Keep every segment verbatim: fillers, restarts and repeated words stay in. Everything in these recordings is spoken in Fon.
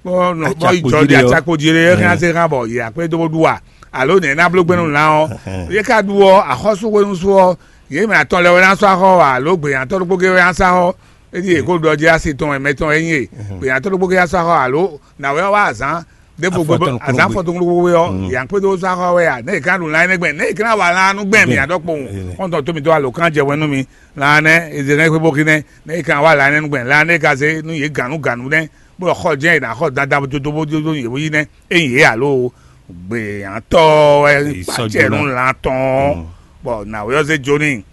Bɔ nɔ bɔ yi jɔ ɖi atsakpo jí ɖé hɛn ase hã bɔ yě akpé dó ɖu a? Alo nɛ̌ ná bló gbɛ́nú lan ɔ́? Yě ká ɖu ɔ́, axɔ́sú hwenu sú ɔ́, yě mɛ atɔn lɛ wɛ ná sɔ́ axɔ a? Alo gběnyatɔ́ ɖokpó gé wɛ ná sɔ́ axɔ? É ɖíe kó ɖɔ jí asi tɔn wɛ mɛ tɔn wɛ nyí e. Gběnyatɔ́ ɖokpó gé ná sɔ́ axɔ alo nǎwe ɔ́ wá azǎn ɖěvo gbogbo, azǎn afɔtɔn kúnukúnukú é ɔ́, yě akpé dó sɔ́ axɔ wɛ a? Nɛ̌ yě ká ɖu lan énɛ́ gbɛn? Nɛ̌ yě ká ná wa lan nú gbɛn mǐ a ɖɔkpowun? Xɔ́ntɔn tó mitɔ́ alo kán jɛ wɛn nú mi. Lan nɛ́ è zě hɛn xwé bó xí nɛ́, nɛ́ è kan wá la nɛ́ nú gbɛn, la nɛ́ è ka zé nú yě gǎnnugǎnnu nɛ́, bó ɖɔ xɔ jɛ́n è nǎ xɔ dandan dodó bó dó yě bó yí nɛ́, ényí yě alo gběnyatɔ́ wɛ kpacɛ nú lan tɔn, bɔ nǎwe ɔ́ zé jó n'i.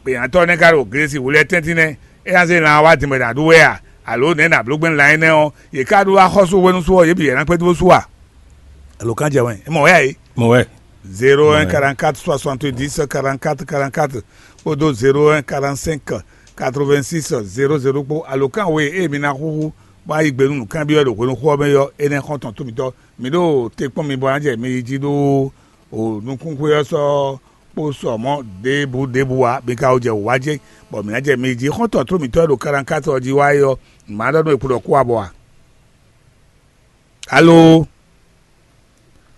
Gběnyatɔ́ nɛ́ ka ɖo Glesi wǔ lɛ́ɛ tɛ́ntin nɛ́, é ná zé lan wá din bɔ è nǎ ɖu wɛ a? Alo nɛ̌ è nǎ bló gbɛn lan énɛ́ ɔ́, yě ká ɖó axɔ́sú hwenu sú ɔ́, yě bǐ yě ná kpé dó sú a? Alo kán jɛ wɛn, é mɔ wɛ a é? Mɔ wɛ. Zéro un quarante-quatre soixante-dix quarante-quatre quarante-quatre kpódó zéro un quarante-cinq quatre-vingt-six zéro zéro kpó alokán we e mi ná xúxú bó ná yí gbe nú nǔkanbyɔ́ ɖo hwenu xó ɔ́ mɛ ɔ́, énɛ́ xɔ́ntɔn tó mitɔ́. Mi ɖo te kpɔ́n mi bɔ ná jɛ mi yi jí ɖó o nukúnxwé ɔ́ sɔ́ kpó sɔ mɔ̌ ɖěbǔ ɖěbǔ ǎ. Mi ka ko jɛ wǔ wá jɛ bɔ mǐ ná jɛ mi yi jí. Xɔ́ntɔn tó mitɔ́ e ɖo quarante-quatre ɔ́ jí wá é ɔ́, mǎ ɖɔ nú è kpo ɖɔ kú abɔ a? Alo,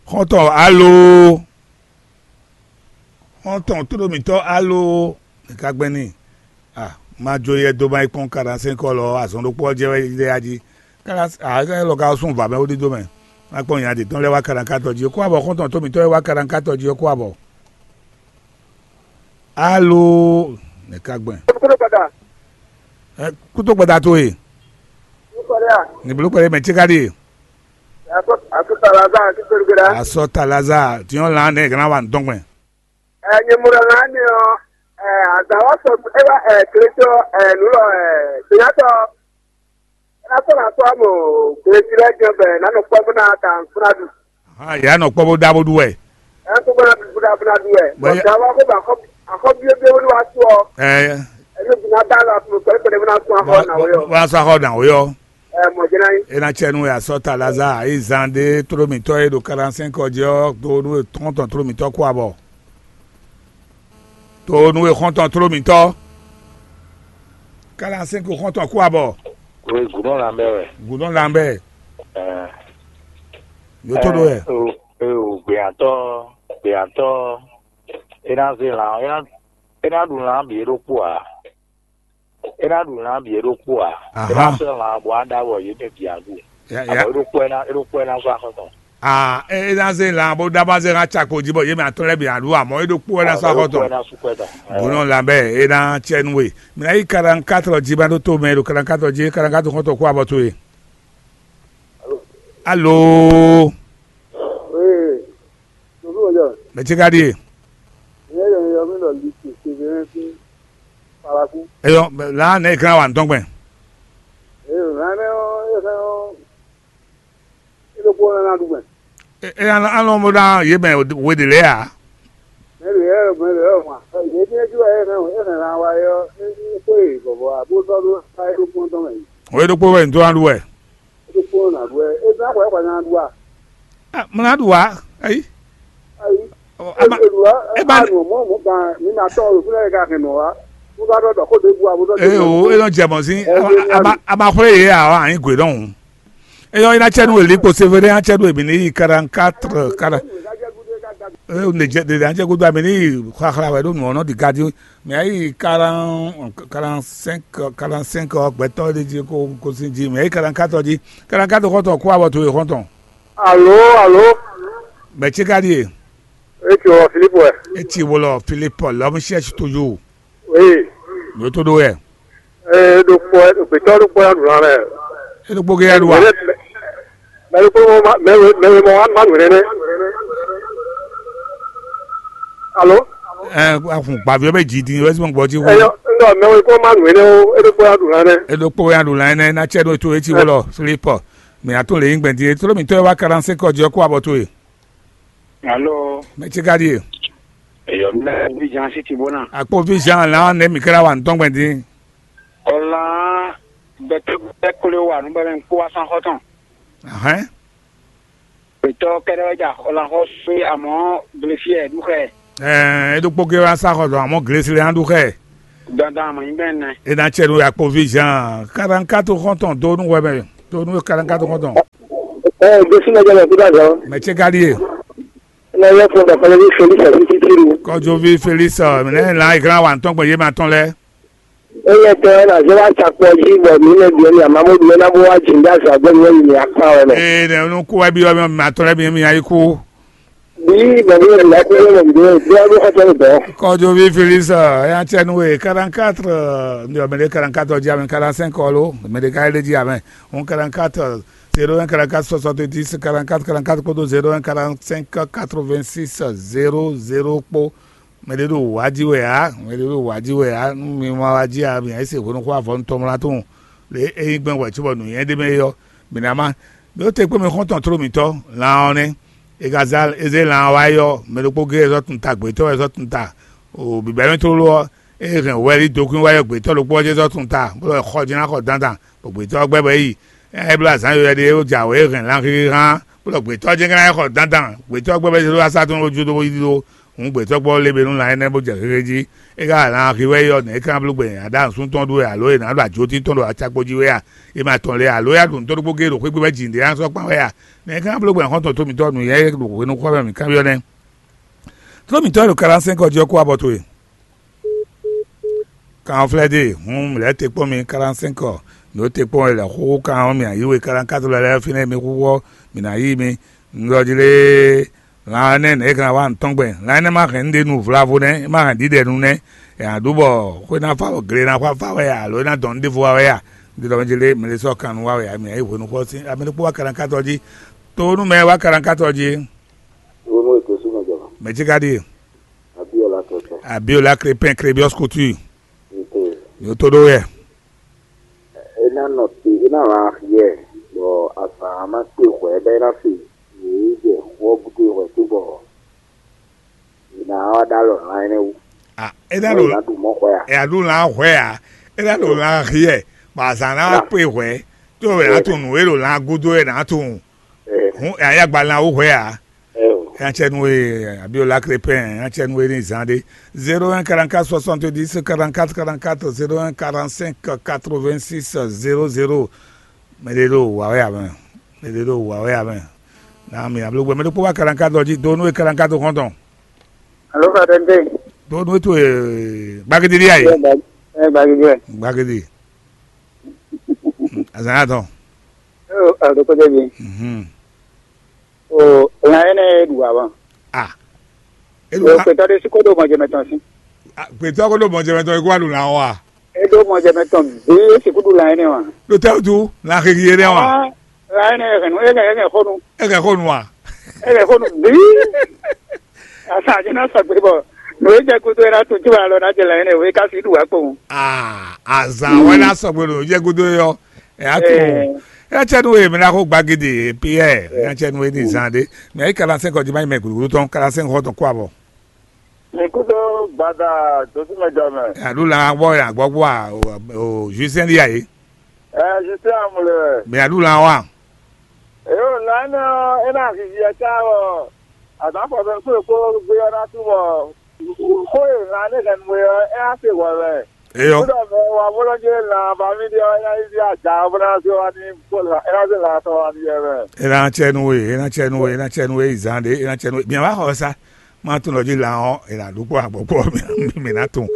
xɔ́ntɔn alo, xɔ́ntɔn tóɖomitɔ́ alo, è ka gbɛn n'i. A ma jó yɛ dó ma yi kpɔ́n quarante-cinq lɔ azɔn ɖokpó ɔ́ jɛ wɛ ɖe ya jí. Kára a lɔ ka sún vǎ mɛ wó ɖídó mɛ. Ma kpɔ́n nya ɖě tɔn lɛ́ɛ wá quarante-quatre jí, kó abɔ xɔ́ntɔn tómitɔ́ e wá quarante-quatre jí ɔ́ kó abɔ. Alo, nɛ̌ ka gbɛn? Kúkúrú gbada. Ɛ kútó gbada towe. Kúkúrú ya. Ní bló kpɛɖé mɛ cíká ɖíe. Asɔ asɔ talaza kí pelu gbada. Asɔ talaza tiɲɔ lan ne gana wa ntɔn gbɛn. Ɛ nyemura lan ne ɔ, ɛ azawa sɔ eba ɛ kletɔ ɛ nulɔ ɛ sonyatɔ. Ena sɔ na sɔ mo glesi lɛ jɛ bɛ na nɔ kpɔ bena ta bena du. Hã yà nɔ kpɔ bó dá bó ɖu wɛ. Ɛ kó bena du bena bena du wɛ. Bɔn ya wa ko ba akɔ akɔ bie bie wani wa sɔ. Ɛ. Ɛnu bina da la tun kɔ kɔ bena sɔ akɔ na wo yɔ. Wa sɔ akɔ na wo yɔ. Ɛ mɔ jɛnɛ yi. Ena cɛ nu ya sɔ talaza ayi zan de tromitɔ ye ɖo quarante-cinq ɔdzi ɔ do nu tɔntɔn tromitɔ kó abɔ. To nú e xɔ́ntɔn tló mǐtɔn. Kála sɛ́n ko xɔ́ntɔn kú abɔ. Kwe gǔnɔ lanbɛ wɛ. Gǔnɔ lanbɛ. Ɛɛ. Yótó ɖó wɛ. Ee o, gbeyatɔ, gbeyatɔ, e ná zé lan, e ná, e ná ɖu lan bǐ é ɖokpó ǎ. E ná ɖu lan bǐ é ɖokpó ǎ. E ná sɔ́ lan bɔ á ɖa wɔ yě mɛ bǐ á ɖu. Abɔ é ɖokpó ɛ ná, é ɖokpó ɛ ná zɔ́ axɔ́ tɔn. Ah, e ná zé lan bó ɖá bá zé hã cakpo jí bɔ yě mɛ atɔ́ lɛ́ɛ bǐ ná ɖu amɔ̌ é ɖokpó wɛ ná sɔ́ axɔ́ tɔn. Gbonɔ lanbɛ e ná cɛ nú we. Mǐ ná yí quarante-quatre jí bá ɖó tó mɛ ɖo quarante-quatre jí, quarante-quatre xɔ́ntɔn kú abɔ towe. Alo. Mɛ ce ka ɖíe? Eyɔ, la ne e kan wa ŋutɔn gbɛn. Eyo, nane ɔ, e hɛn ɔ, e ɖokpó nana ɖu gbɛn. E e anɔ anɔ mo ɖa ye mɛ we de lɛ ya. Mɛ ɖe yɛ mɛ ɖe yɛ ma. Ye bi eju e hɛn e hɛn na wa yɔ, e ko e bɔbɔ abo sɔ ɖo ka e ɖokpó tɔn mɛ. O ye ɖokpó wɛ ŋutɔ ɖu wɛ. E ɖokpó na ɖu wɛ. E zan kɔ e kɔ na ɖu a. Ah, mo na ɖu wa. Ayi. Ayi. Ɔ, ama- Elu wa. E ba- Anu mo mo gan mi na tɔ o fúnɛ ka hɛn nɔ wa. Mo ba dɔ dɔ ko de bu abo dɔ. E o e nɔ jɛ mɔ si. Ama ama xɔlɛ ye a wa anyi gwe dɔn. Eyɔ ina cɛ nu eli kpo severe an cɛ do ebi ni yi quarante-quatre quarante. E ne jɛ de an cɛ godo ami ni yi xaxla wɛ do nu ɔnɔ di gadi. Mais ayi quarante quarante-cinq quarante-cinq gbɛtɔ de ji ko ko si ji mais ayi quarante-quatre ji. Quarante-quatre kɔtɔ kó abɔ to ye kɔtɔ. Alo, alo. Mɛ tsi ka ɖie? Etsɔ Filipu wɛ. Etsi wolɔ Filipu lɔmu sɛsi tojo. Oui. Yótó ɖó wɛ. Ee, ɖo kpɔ, ɖo gbɛtɔ ɖo kpɔ ya ɖu lan lɛ. E ɖokpó ge ya ɖu wa. Mɛ ɖokpó mɔ ma, mɛ we, mɛ we mɔ wa ma nǔ nɛnɛ. Alo. Ɛ ahun gbaviɔ bɛ dzi din wɛ sɔn gbɔ dzi wu. Eyɔ, ŋdɔ mɛ we kó ma nǔ nɛnɛ o, e ɖokpó ya ɖu lan nɛ. E ɖokpó ya ɖu lan nɛ na tsɛ ɖo to etsi wolɔ Filipu. Mɛ ató le yín gbɛn din e tló mi tɔ e wa quarante-cinq ɔdzi ɔ́ kó abɔ towe. Alo. Mɛ tsi ka ɖie? Eyɔ, mi lɛ vi Jean Siti Bona. Akpo vi Jean la ne mi kra wa ŋutɔn gbɛn din. Ɔlan gbɛtɔ gbɛtɔ kle wa nu bɛ mɛ kpó wa sɔn xɔ tɔn. Ahɛn. Gbɛtɔ kɛɖɛ wɛ ja ɔlan xɔ sue amɔ blesiɛ du xɛ. Ɛɛ, e ɖokpó ge wa sa xɔ dɔn amɔ glesi le an ɖu xɛ. Dandan amɔ nyi bɛ nɛ. E na cɛ nu akpo vi Jean quarante-quatre xɔntɔn do nu wɛ mɛ. Do nu quarante-quatre xɔntɔn. Ɛ, Jésù mɛ jɛ mɛ kúta zɔn. Mɛ ce ka ɖíe? Ena yɛ fún ɖɔ kɔlɛ ní Félix àti Títírù. Kɔjɔví Félix, mɛ nɛ lan iglã wa ntɔn gbɔn yé ma tɔn lɛ. Eye tɛ na zé wá tsakpɔ jí bɔ mǐ mɛ bǐ ɔ́ mǐ amamú bǐ ɔ́ ná bó wá jǐ ɖó azɔ̌ agbɛ́ mǐ ɔ́ yi mǐ akpa wɛ mɛ. Ee, nɛ nu kú wɛ byɔ́ mì ma tɔn lɛ́ mi mi ayi kú. Bí bɔ mǐ mɛ bǐ akú ɖé mɔ bǐ ɖé bíá bó xɔtɔ́ ɖo dɔ̌. Kɔjɔví Félix, ya cɛ nu e quarante-quatre, ndi ɔmɛ ɖe quarante-quatre ɔ́ jí amɛ quarante-cinq ɔ́ lo, mɛ ɖe ka lé jí amɛ. Un quarante-quatre, zéro un quarante-quatre soixante-dix quarante-quatre quarante-quatre kpódó zéro un quarante-cinq quatre-vingt-six zéro zéro kpó. Mɛ ɖé ɖo wǎ jí wɛ ǎ, mɛ ɖé ɖo wǎ jí wɛ ǎ, nú mi ma wá jí ǎ, mi ǎ yi se hwenu xó avɔ nutɔn mlá tɔn. Lě e nyí gbɛn wɛ cóbɔ nǔnywɛ́ ɖé mɛ é ɔ́, mǐ ná má. Mi ó te kpé mi xɔ́ntɔn tló mǐtɔn, lan ɔ́ nɛ́. È ka zá é zé lan ɔ́ wá yi ɔ́, mɛ ɖokpó géé zɔ́ tunta, gbětɔ́ wɛ zɔ́ tunta. O bǐbɛ́ mɛ tlóló ɔ́, é hɛn wɛlí dokwín wá yi ɔ́, gbětɔ́ ɖokpó ɔ́ jɛ́n zɔ́ tunta, bó lɔ xɔ jí ná xɔ dandan, bɔ gbětɔ́ ɔ́ gbɛ́ bɔ é yi. É bló azǎn yɔywɛ ɖé e jǎwe é hɛn lanxixi hán, bó ɖɔ gbětɔ́ jɛ́n ka ná yi xɔ dandan, gbětɔ́ gbɛ́ bɔ é zé ɖó asá tɔn jó dó yi ɖó. Hǔn gbětɔ́ gbɔ lé bě nú lan énɛ́ bó jɛ xéxé jí. É ka lan axi wɛ é ɔ́, nɛ̌ é ka ná bló gbɛn aɖǎ nǔsúntɔ́ ɖó wɛ alo è nǎ ɖo ajotí tɔn ɖo acakpo jí wɛ a? È ma tɔn lě alo é wá ɖo nǔtɔ́ ɖokpó géé ɖo xwé gbe wɛ jǐ ɖé ná sɔ́ kpán wɛ a? Nɛ̌ é ka ná bló gbɛn xɔ́ntɔn tómitɔ́ nǔnywɛ́ ɖo hwenu xɔ wɛ mǐ kanbyɔ́ nɛ́? Tló mǐtɔn e ɖo kaɖásɛ́nkɔ jí ɔ́ kó abɔ towe. Kan ɔ́ flɛ́ dó e, hǔn mǐ lɛ́ te kpɔ́n mi kaɖásɛ́nkɔ, mǐ ɖo te kpɔ́n wɛ lɛ̌ xóxó kan ɔ́, mǐ ná yí we kaɖánkátó lɛ́ɛ lɛ́ɛ fínɛ́ mi xúxú ɔ́, mǐ ná yí mi. Un ɖɔ jí lé, lan ɔ́ nɛ́ nɛ̌ è ka ná wa nǔ tɔn gbɛn? Lan énɛ́ ma hɛn nǔɖé nu vlavo nɛ́, é ma hɛn ɖiɖɛnu nɛ́. È nǎ ɖu bɔ xwé ná fá bɔ gle ná xwá fá wɛ a, alo é ná dɔn nǔ ɖěvo wa wɛ a? Un ɖi ɖɔ mɛ jí lé, mɛ ɖé sɔ́ kan nu wa wɛ a, mǐ ná yí hwenu xɔ sín, a mɛ ɖokpó wá kaɖánkátó jí. To nú mɛ e wá kaɖánkátó jí. Wo nú ètò súnmọ́ jɔ̀mọ́. Mɛ jí ka ɖíe? Abíọ́lá tɔtɔ. Abíọ́lá Crépin, Crébius Couture. Nte. Yóò tó ɖó yɛ. É ná nɔ te, é ná wá yɛ, bɔ azǎn ná kpe hwɛ̌ bɔ é ná se yě jɛ xó ɔ́ gúdo hwɛ̌ cóbɔ è nǎ wá ɖó alɔ lan énɛ́ wú. Ah, é ná Bɔ ɖo è nǎ ɖu mɔ̌ hwɛ a? Ɛ aɖu lan hwɛ a? É ná ɖo lan hiɛ, bɔ azǎn ná wá kpe hwɛ̌, tó wɛ ná tunwun nǔ e ɖo lan gúdo é ná tunwun. Hǔn ɛ ayagba lan wú hwɛ a? Ɛ o. Ɛ ná cɛ nú we, Abiola Crépin, ɛ ná cɛ nú we ní zan ɖé. Zéro un quarante-quatre soixante-dix quarante-quatre quarante-quatre, zéro un quarante-cinq quatre-vingt-six zéro zéro. Mɛ ɖé ɖo wǎ wɛ amɛ. Mɛ ɖé ɖo wǎ wɛ amɛ. Na mi ablo gbɛ mɛ ɖokpó wá quarante-quatre ɔ́ jí, do nú we quarante-quatre xɔ́ntɔn. Alo, Father Nde. Do nú we to gbagidi ɖi ayi. Ɛ gbagidi wɛ. Gbagidi. Azan y'a tɔn. Alo, kɔjɛ bi. Mhm. O lan énɛ́ e ɖu ǎ wǎ. Ah. E ɖu O lan. Gbɛtɔ́ ɖé sí kó ɖo mɔjɛmɛ tɔn sí. Ah, gbɛtɔ́ kó ɖo mɔjɛmɛ tɔn e kó wá ɖu lan wá. E ɖo mɔjɛmɛ tɔn bí e sixú ɖu lan énɛ́ wǎ. Ɖo tɛ́ wútu lan xixi énɛ́ wá. Ah, lan énɛ́ e hɛn nú e hɛn e hɛn xó nu. E hɛn xó nu wá. E hɛn xó nu bí. Asa jí ná sɔgbe bɔ nǔ e jɛ kúdó e ná tún cí wá lɔ ná jɛ lan énɛ́ o, e ka sí ɖu wá kpowun. Ah, azan wɛ ná sɔgbe ɖo jɛ kúdó yɔ. Ɛ atu. Ɛ. Ɛ cɛ nu e mɛ na ko gbagidi Pierre. Ɛ cɛ nu e ni zan de. Mɛ ayi quarante-cinq ɔdi ma yi mɛ gulugulu tɔn quarante-cinq xɔ tɔn kó abɔ. Ikúdó gbada dosúmɛjɔ mɛ. Ɛ adu lan gbɔ ya gbɔ gbɔ a o o Justin di ayi. Ɛ Justin amulɛ. Mɛ adu lan wa. Eyo lan nɔ ena vivi ɛta wɔ. Azan fɔtɔn kúrò kó gbé ɔ́ ná túbọ̀. Xó e lan ne hɛn nú e ɔ́, é á se hwɛ wɛ. Eyɔ. Kúdọ̀ mɛ wa bó lɔ jẹ́ lan ba mí ɖe ɔ́, é ná yi vía ja bó ná zé wá ní bó la é ná zé lan tɔn wá ní yɛ mɛ. E na cɛ nu we, e na cɛ nu we, e na cɛ nu we yi zan ɖe, e na cɛ nu we. Mia wa xɔ sa, ma tún lɔ dzi lan ɔ́, e na ɖu kpɔ agbɔ kpɔ mi mi na tún.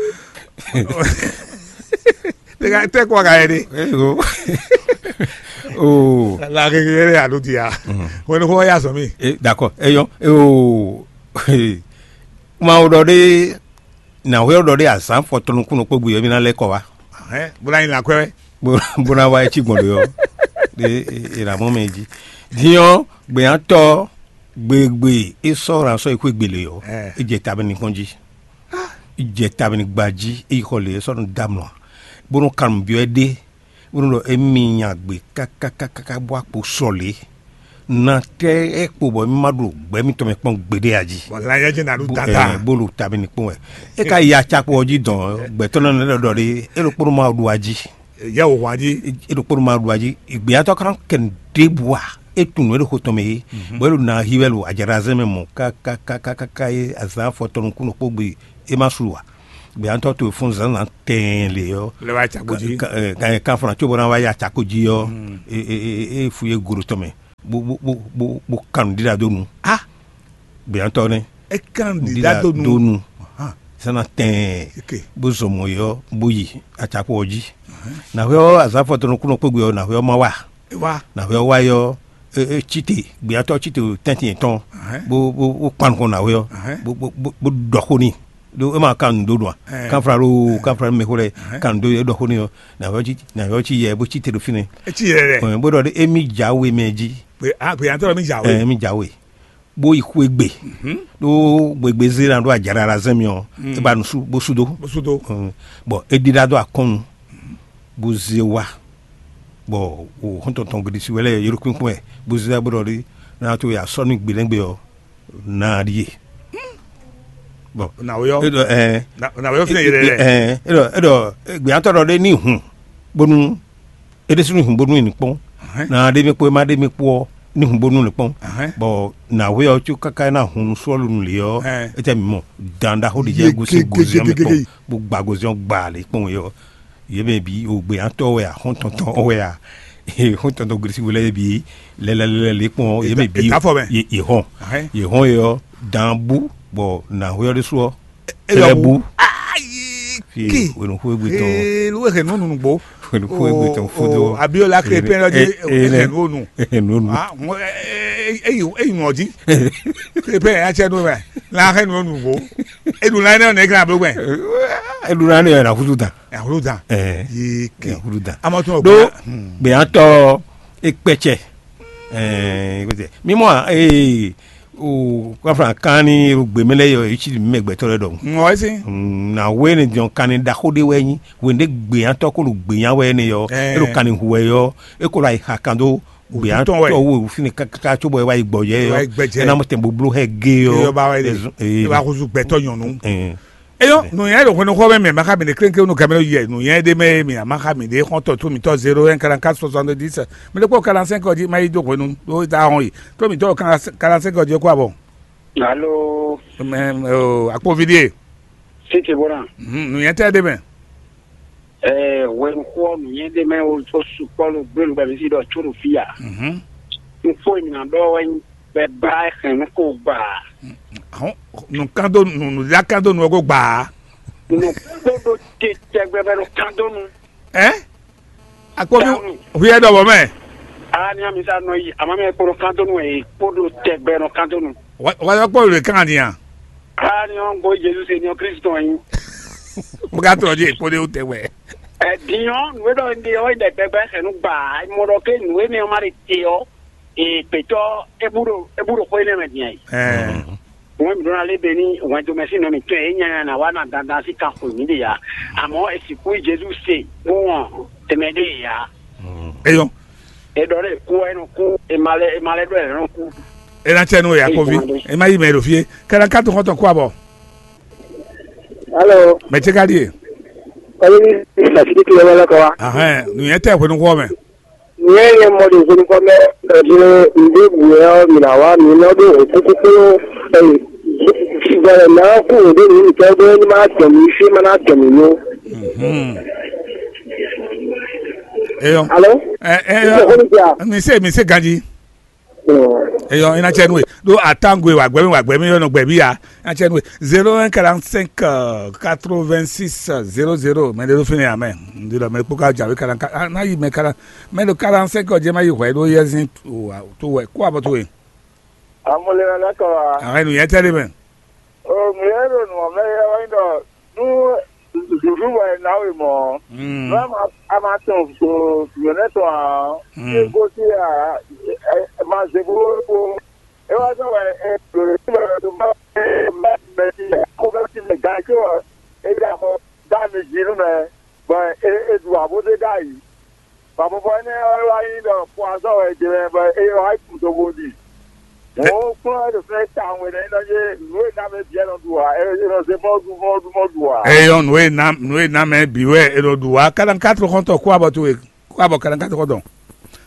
Tɛ ka tɛ kɔ ka yɛ de. Eyo. Oh. La keke yɛ de a ɖo dia. Wɛn ko ya sɔ mi. Eh, d'accord. Eyɔ. Oh. Kuma o ɖɔ ɖe na hwɛ ɖɔ ɖe azǎn fɔtɔnukúnɔ kpó gbe ɔ́ mí ná lɛ́ kɔ wá. Hɛn bó ná nyi lan kwɛ wɛ. Bó bó ná wá é cí gbɔn ɖe ɔ́, ɖe è nǎ mɔ mɛ jí. Din ɔ́, gbɛ̌nyátɔ́ gbegbe é sɔ́ ran sɔ́ yi xwé gbele ɔ́, é jɛ ta mɛ n'i kɔn jí. É jɛ ta mɛ n'i gba jí, é yi xɔ lě é sɔ́ nɔ dó amlɔ, bó nɔ kan nǔ byɔ́ ɛ ɖé, bó nɔ ɖɔ émí nya gbe kákákáká bó akpo sɔ lě. Na tɛ é kpo bɔ mí ma ɖo gbɛ mítɔn mɛ kpɔn gbeɖé a jí. Bɔ lan yɛ jɛ na ɖo Bo- tata. Eh, bó ɖo tabi ní kpɔn wɛ. É ka yi atsakpo ɔ́ jí dɔn gbɛtɔ́ nɔ lɛ ɖɔ ɖe é ɖo kpónɔ ma ɖo a jí. Yɛ wò hwan jí. É ɖo kpónɔ ma ɖo a jí. Gbéyàtɔ kan kɛ ɖěbǔ a é tunnu é ɖo xo tɔn mɛ yé. Bɔ é ɖo na hi wɛ ɖo ajaɖazɛ mɛ mɔ kákákákáká yé azan fɔtɔnukúnɔ kpó gbe é ma su wa. Gbéyàtɔ to fún zǎnzǎn tɛɛn lě ɔ́. Lɛ wá atsakpo jí. Kan fana tso bɔ na wá yi atsakpo jí ɔ́. É fu yé go ɖo tɔn mɛ. bó bó bó bó bó kan nǔɖiɖa dó nu. A gběyàntɔ́ nɛ́. É kan nǔɖiɖa dó nu. Dó nu. Hàn. Sɛ́n ná tɛɛn. Ok. Bó zɔ mɔ̌ yɔ bó yi atakpɔ ɔ́ jí. Nǎhwɛ ɔ́, azǎn fɔtɔnukúnɔ kpégbé ɔ́, nǎhwɛ ɔ́ má wa. É wá. Nǎhwɛ ɔ́ wá yɔ, é, é, cíte, gbeyatɔ́ cíte tɛ́ntin yɛn tɔn, Ahɛn. Bó bó bó kpan nukɔn nǎwe ɔ́, Ahɛn. Bó bó bó bó ɖɔ xó n'i. Ɖó é ma kan nǔ dó ɖu a? Ɛɛ. Kanfla ɖo Ɛɛ. Kanfla mɛ xó lɛ Ahɛn. Kan nǔ dó é ɖɔ xó n'i ɔ́, nǎwe ɔ́ cí nǎwe ɔ́ cí yɛ bó cí te ɖo fínɛ́. É cí yɛ lɛ. Ɛɛ, bó ɖɔ ɖé émí jǎwe mɛ jí. Pé a pé antɔ mi jǎwe. Ɛɛ, émí jǎwe. Bó yi xwé gbe. Mhm. Ɖó gbegbe zé ná ɖó ajaɖaɖa zɛ́n mi ɔ́, Mm. É ba nǔ sú bó sú dó. Bó sú dó. Ɛɛ, bɔn é ɖíɖá dó akɔ́n nu. Bó zé wá, bɔ o xɔ́ntɔn tɔn gbe ɖisí wɛ lɛ́ɛ yɔ́ ɖo kpínkpɔ́n wɛ, bó zé wá bó ɖɔ ɖi ná tó ya sɔ́ nú gbe lɛ́ngbɛ ɔ́, ná ɖíe. Bɔn Nǎwe ɔ́. É ɖɔ ɛɛ Nǎwe ɔ́ fínɛ yɛlɛ lɛ. Ɛɛ é ɖɔ é ɖɔ gběyàtɔ ɖɔ ɖé ní hun bónú é ɖésú ní hun bónú ní kpɔ́n. Ná ɖé mɛ kpó é má ɖé mɛ kpó ɔ́ ní hun bónú ní kpɔ́n. Bɔn nǎwe ɔ́ có káká é ná hun nú sɔ́lu nú lě ɔ́, é tɛ mǐ mɔ dan ɖaxó ɖě jɛ gosín gozíɔn mɛ kpɔ́n, bó gba gozíɔn gba lě kpɔ́n é ɔ́. Yě mɛ bǐ, o gbeyǎntɔ́ wɛ a, xɔ́ntɔn tɔn wɛ a, xɔ́ntɔn tɔn gblísíwú lɛ́ɛ bǐ, lɛlɛlɛlɛ kpɔn yě mɛ bǐ, È tá fɔ mɛ. Yě yě hɔn, Ahɛn. Yě hɔn é ɔ́, dan bú bɔ nǎhwɛ ɔ́ ɖésú ɔ́, É lɔ tɛlɛ bú. Bú. Ayi Fie ke. Wenu xó égbé tɔn. Ee, ló hɛn nú nùgbó. Wenu xó égbé tɔn fúdó. Abiola klepɛn lɔ di. Hɛn nú nu. Ah, mo eyi eyi nɔ di. Klepɛn ya tsɛ nú mɛ. La hɛn nú nùgbó. Eɖu la ne ne glan blo gbɛ. Eɖu la ne yɛ na xúdú dan. Ahlu dan. Ɛɛ. Yi ke. Ɛɛ, xúdú dan. Amɔ tún. Ɖó gbeyãtɔ ekpɛtsɛ. Ɛɛ, mímɔ ee o kɔfra kan ni o gbemɛ lɛ yɔ etsi mɛ gbɛtɔ lɛ dɔn. Ŋɔ esi. Na we ne diɔn kan ni ɖaxó ɖe wɛ nyi, we ne gbeyãtɔ ko ɖo gbeyã wɛ ne yɔ. Ɛɛ. E ɖo kan ni hu wɛ yɔ, e ko ɖo ayi xa kan dó gbeyãtɔ wo fini kaka tso bɔ e wa yi gbɔ yɛ yɔ. E na mɔ tɛn boblo hɛ ge yɔ. Yɔ ba wɛ de. E wa kusu gbɛtɔ nyɔnu. Eyɔ́, nǔnywɛ́ ɖo hwenu xɔ mɛ mɛ, ma xa mi ɖe klénklénu gamɛ yɛ nǔnywɛ́ ɖé mɛ mi a ma xa mi ɖe xɔ́ntɔn tó mitɔ́ zéro un quarante quatre soixante dix. Mi ɖe kpɔ́ quarante cinq ɔ́ jí ma yi dó hwenu ɖó ta hɔn yi. Tó mitɔ́ quarante cinq ɔ́ jí kó abɔ. Alo. Mɛ o akpovi ɖie. Siti bɔna. Nǔnywɛ́ tɛ ɖé mɛ. Ɛɛ hwenu xɔ nǔnywɛ́ ɖé mɛ o sukpɔ lo gbé nu bɛ mi si ɖɔ tso ɖo fí a. N fo yi mi na ɖɔ wɛ bɛ ba hɛn nu ko gba. Ahɔn nùkando nù nùdílákando nù ɔgó gbaa. Nù kpódó te tɛgbɛ bɛ nù kando nu. Ɛ akpɔbi. Dànù. Huyɛ dɔ bɔ mɛ. Aa ní amisa nɔ yi àmọ́ mi kpódó kando nu ẹ̀ kpódó tɛgbɛ nù kando nu. Wàá kpɔbi lè kàn ní a. Aa ní ɔn gbɔ Jesu se ní ɔ Kristu tɔn yi. Mo ka tɔ di kpódó tɛgbɛ. Ɛ dinyɔ nùwé dɔ ní ɔ yi dɛ gbɛgbɛ xɛ nu gbaa mɔ dɔ ké nùwé ní ɔ ma de te ɔ. Ee, gbětɔ́ é bú ɖo é bú ɖo xó énɛ́ mɛ din ɛ? Ɛɛ. Wɛn mǐ ɖó ná lé be ní wɛndomɛsín nɔ mǐtɔn e é nyanya ná wá ná dandan sín kan xwe mǐ ɖe ǎ. Amɔ̌ è sixú yí Jezu se bó wɔn tɛmɛ ɖé yě ǎ. Eyɔn. È ɖɔ ɖé kú wɛ é nɔ kú, è ma lɛ è ma lɛ ɖɔ è nɔ kú. É ná tsɛ nú we Yakovi. É má yí mɛ ɖo fie. Kɛlɛ ká tó xɔ́ntɔn kú abɔ. Alo. Mɛ tse ka ɖie? Kɔmi ní ìgbà tí kìlọ̀ wọlé kọ wa. Ahɛn, nìyẹn tɛ hwenu xɔ mɛ. Nìyẹn yẹn mɔ ɖo hwenu kɔ mɛ ɛdí ǹdé bùyɛ ɔ mì nà wá mì nɔ ɖó òkúkú kpló ɛyìn. Gbɔdɔ nà kú òdó nìyí nìkẹ́ gbé ní má dɔn mí fí má ná dɔn mí nú. Eyɔ. Alo. Ɛ ɛ Ìjọba ní ti à. Mi se mi se ganji. Eyɔ ina tsɛ nue ɖo atango wa gbɛmi wa gbɛmi yɔ nɔ gbɛmi ya ina tsɛ nue zéro un quarante cinq quatre vingt six zéro zéro mɛ ɖe ɖo fini amɛ ndi lɔ mɛ kpó ka dza wé kalan ka na yi mɛ kalan mɛ ɖo quarante cinq ɔdze ma yi hwɛ ɖo yɛ zin to wɛ kó abɔ to wɛ. Amúlẹ̀ lẹ́kọ̀ọ́ wa. Àwọn ènìyàn tẹ́lẹ̀ mẹ́. Òmìnira èrò nù ọ̀mẹ́ yẹ wáyé dọ̀ nú zùzú wẹ̀ náwó mọ́. Nú a máa tún yòókù tán àn. Ṣé kó sí à máa ṣe kó kó. Ẹ wá sọ̀rọ̀ ẹ lòlò sí ọ̀rọ̀ tó bá bá bẹ sí ẹ kó bẹ sí ẹ gán kí wọ́n ẹ yà kó dá mi jì nú mẹ bọ̀ ẹ ẹ dùn àbódé dá yìí. Bɔn mɔ̌ énɛ́ ɔ́ wá nyí ɖɔ poison wɛ è ɖe wɛ bɔ é wá yi kun togo ɖi. Mɔ̌ kplɔ́n wɛ ɖo fɛ́ tawun wɛ nɛ́ nɔ yé nǔ e ná mɛ bǐ wɛ nɔ ɖu ǎ, é nɔ zé mɔ́ ɖu mɔ́ ɖu mɔ́ ɖu ǎ. Eyɔn nǔ e ná nǔ e ná mɛ bǐ wɛ è nɔ ɖu ǎ. Kalankatru xɔ́ntɔn kú abɔ towe kú abɔ kalankatru xɔ́ntɔn.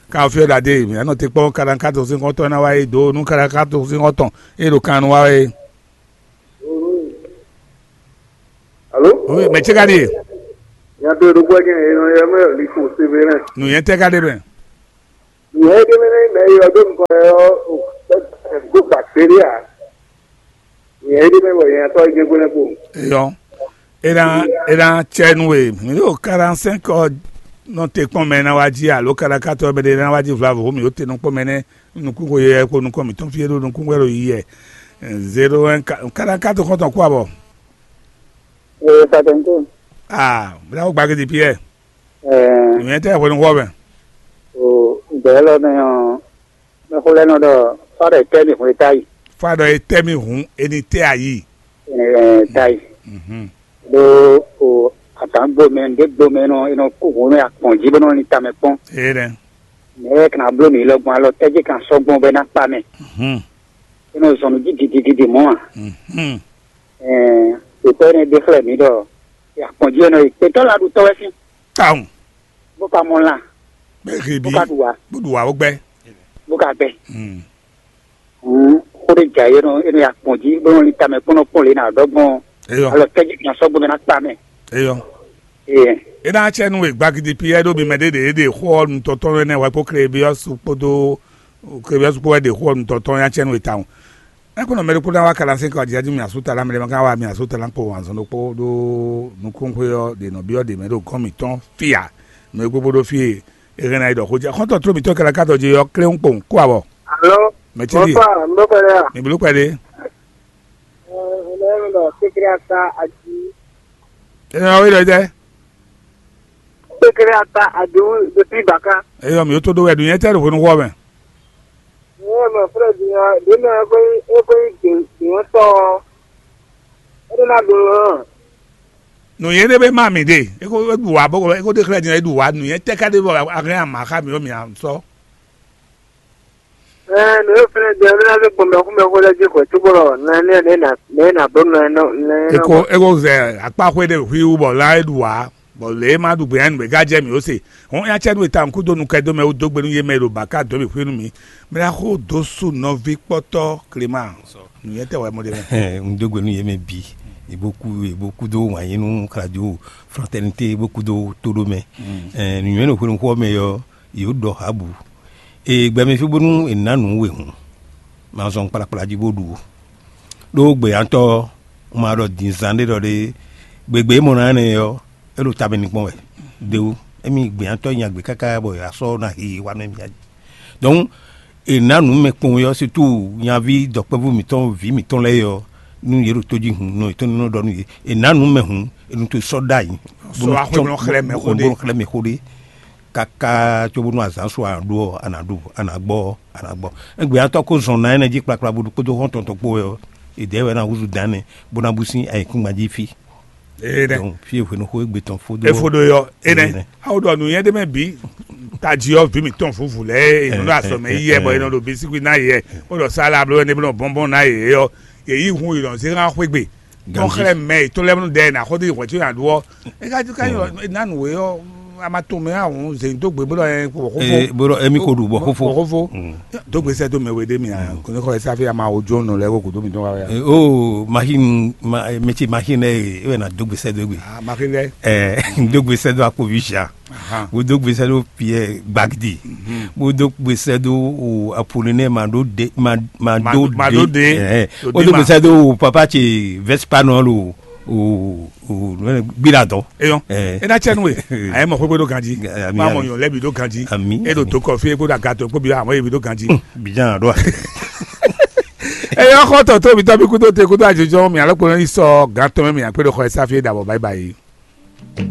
Ka ɔ fí ɔ́ ɖaɖé mǐ nɔ te kpɔ́n kalankatru sín xɔ́ntɔn ná wá é dǒ nú kalankatru sín xɔ́ntɔn é ɖo kan nu wá é. Alo? Oui, mɛ tse ka ɖe? Nya to ɖokpó ɛkɛ ɛ nɔ yɛ mɛ liko Severin. Nu yɛn tɛ ka ɖe mɛ? Nyɛ ɖé mɛ nɛ mɛ yɔ ɖó nukɔn yɔ ɖó bacteria. Nyɛ ɖé mɛ wɔ nyɛ tɔ jɛ gbɛnɛ ko. Eyɔ, e ná e ná tsɛ nú we. Mi ɖo quarante-cinq nɔ te kpɔn mɛ ná wá jí alo quarante-quatre mɛ ɖé ná wá jí vlavo mi ɖo te nɔ kpɔn mɛ nɛ nukún ko yɛ ko nukɔn mi tɔn fie ɖo nukún wɛ ɖo yi yɛ. Zéro un quarante-quatre kɔntɔn kó abɔ. Ee, patɛnko. Ah, mi ná wó gbagidi piɛ. Ɛɛ, mi tɛ hwenu wɔ mɛ. O gbɛɛ lɔ nɛ ɔ, mɛxó lɛ́ɛ nɔ ɖɔ fá ɖɔ è tɛ́ mì hwlé táyi. Fá ɖɔ è tɛ́ mì hǔn, è ní tɛ́ ayǐ. Ɛɛ, táyi. Mhm. Ɖó o atǎn gbo mɛ, ɖě gbo mɛ nɔ, è nɔ kú hǔn nú akpɔn jí bó nɔ lin tamɛ kpɔ́n. Ee nɛ. Mɛ e kan bló mǐ lɔ gbɔn alɔ tɛ́ jí kan sɔ́ gbɔn bɔ é ná kpa mɛ. Mhm. É nɔ zɔn nǔ jí gidigidi mɔ̌ a? Mhm. Ɛɛ, ɖětɔ́ énɛ́ ɖe xlɛ́ mǐ ɖɔ akpɔn jí é nɔ yi. Gbětɔ́ la ɖu tɔ́ wɛ sín, Tawun. Bó ka mɔ lan, Bɛ he bó bí. Ka ɖu wǎ, Bó ɖu wǎ bó gbɛ. Bó ka gbɛ. Hmm. Hǔn xó ɖé jɛ ayé nɔ, é nɔ ya kpɔn jí, bó nɔ lin tamɛ kpɔ́n nɔ kpɔ́n lě nǎ ɖɔ gbɔn. Eyɔ. Alɔ kɛ́jí kan sɔ́ gbɔn mɛ ná kpa mɛ. Eyɔ. Ee. É ná cɛ nú we gbagidi Piyɛ́ɛ ɖó mi mɛ ɖé ɖě ɖe xó ɔ́ nutɔn tɔn ɛnɛ wɛ kpó Klebyɔ́su kpódó Klebyɔ́su kpó wɛ ɖe xó ɔ́ nutɔn tɔn nya cɛ nú we tawun. Ɛ kó nɔ mɛ ɖokpó ná wá kaɖa sɛ́n kɔ ajíájú mì asú talá mɛ ɖé ma ka wá mì asú talá kpo wǎnzɔn ɖokpó ɖó nukúnxwé ɔ́ ɖe nɔ byɔ́ ɖě mɛ ɖo gɔ́n mǐtɔn fí ǎ. Nǔ e gbogbo ɖó fí e è hɛn ná yi ɖɔ xó jɛ xɔ́ntɔn tló mǐtɔn kɛlɛ ká dɔ je ɔ́ kléwún kpowun kó abɔ. Alo. Mɛ ce ɖíe. Bonsoir, n bɛ kpɛ ɖe a? Mi bló kpɛ ɖe. Ɛ, n bɛ ɖɔ kékeré ata aji. Ɛ ɔ wí ɖɔ jɛ. Kékeré ata aji wú ɖo tí baka. Eyɔ mi tó ɖó wɛ ɖu nyɛ tɛ ɖo hwenu xɔ mɛ. Wọ́n mọ̀ fúnra jù yẹn, lónà ẹgbẹ́ ẹgbẹ́ ìgbìmọ̀ tọ́. Ó ní má dùn ún. Nǔnyɛ ɖé bɛ má mi ɖe, eko ɖu wá bɔ eko ɖe xlɛ́ din ɖu wá nǔnyɛ tɛ ká ɖe bɔ a hɛn ama xá mi ɔ mi à sɔ. Ɛ nǔ e fɛnɛ jɛ ní azé gbɔn mɛxú mɛxú lɛ́ɛ jí xwɛ cóbɔ nɛ nɛ nɛ nɛ nɛ nɛ nɛ. Eko eko zɛ akpa xwé ɖe hwi wú bɔ lá e ɖu wá. Bɔ lě e ma ɖu gbě nú mǐ gá jɛ mǐ ó se. Hɔn nya cɛ nú e tawun kúdo nukɛn dó mɛ wú dó gbe nú yé mɛ e ɖo bǎka dó mì xwé nú mǐ. Mɛ ná xó dó sú nɔví kpɔ́tɔ́ Klema. Nǔnyɛtɔ́ wɛ mɔ ɖe mɛ. Un dó gbe nú yě mɛ bǐ. È bó kú è bó kúdó wǎn yí nú radio Fraternité bó kúdó tóɖó mɛ. Nǔnywɛ́ ɖo hwenu xó ɔ́ mɛ ɔ́, yě ɖɔ hǎbǔ. È gbɛmɛ fí bónú è nǎ nǔ we hǔn. Ma zɔn kplakpla jí bó ɖu ó. Ɖó gbeyǎtɔ́ ɔ́, un ma ɖɔ din zán ɖé ɖɔ ɖé gbegbe e mɔ ná énɛ́ ɔ́, é ɖo ta mɛ nukpɔn wɛ. Ɖewu émi gbeyǎtɔ́ nya gbe káká bɔ yě wá sɔ́ ná hi wá nú émi ǎ. Donc è nǎ nǔ mɛ kpowun ɔ́, situ nyaví dɔ̌kpɛvú mǐtɔn vǐ mǐtɔn lɛ́ɛ ɔ́, nú yě ɖo tójí hun nɔ yětɔn nɔ ɖɔ nú yě, è nǎ nǔ mɛ hǔn, è nɔ to sɔ́ ɖ'ayǐ. Sɔ́ wá xwé nɔ xlɛ́ mɛ xó ɖé. Xlɛ́ mɛ xó ɖé. Káká cóbónú azǎn su a nǎ ɖu ɔ́, a nǎ ɖu, a nǎ gbɔ ɔ́, a nǎ gbɔ. Égbé atɔ́ kó zɔn ná énɛ́ jí kplakpla bó ɖokpódó xɔ́ntɔn tɔn kpó wɛ ɔ́, è dɛ̌ wɛ ná húzú dǎn nɛ́ bó ná bú sín ayǐkúngban jí fí. Énɛ́. Donc fí e hwenu xó égbé tɔn fó dó. Efo ɖo yɔ énɛ́. Énɛ́. Awo ɖɔ nǔnyɛ ɖé mɛ bǐ tají ɔ́ vǐ mǐtɔn vǔvǔ lɛ́ɛ e nɔ ɖo azɔ̌ mɛ yi yɛ bɔ è nɔ ɖo bisikwi ná yě yɛ bó ɖɔ sálá bló ɛnɛ bó nɔ bɔ́nbɔ́n ná yě ɔ́ yě yí hun yi nɔ zé hán xwé gbe. Tɔn xlɛ́ mɛ yětɔn lɛ́ɛ nɔ ɖɛ ná xɔ dó yi hwɛ̌ có nyaɖu ɔ́. É ka ká nyɔ ná nǔ we ɔ́, a ma tunwun mɛ ahun zě dó gbe bó ɖɔ ɛ bɔ xófó. Ee bó ɖɔ émí ko ɖu bɔ xófó. Bɔ xófó. Dó gbe sɛ dó mɛ we ɖé mi a kò ní xɔ ɛ sáfì a ma wo jó nɔ lɛ ko kò dó mi dɔn wa wɛ. Oo machine mɛ ce machine lɛ e wɛ na dó gbe sɛ dó gbe. Ah machine lɛ. Ɛɛ dó gbe sɛ dó akpovi sia. Bó dó gbe sɛ dó Pierre Gbagidi. Bó dó gbe sɛ dó o Apollinaire ma ɖó de ma ma ɖó de. Ɛɛ bó dó gbe sɛ dó o papa ce Vespa nɔ lo. Gbiɖa dɔn. Eyɔn. Ena cɛ nu e. A ye mɔ xwegbe ɖo ganji. Ami, ma mɔ ami. Nyɔ lɛbi ɖo ganji. Ami, e ɖo ami. To kɔfi e ko ɖo agatɔ e ko bi amɔ ye bi ɖo ganji. Bijan ɖo. Eyɔn xɔ tɔ to mi tɔ bi kudo te kudo ajojɔ mi alɔ kpɔnɔ yi sɔ gan tɔmɛ mi akpe ɖo xɔ esafi e ɖabɔ bayi bayi.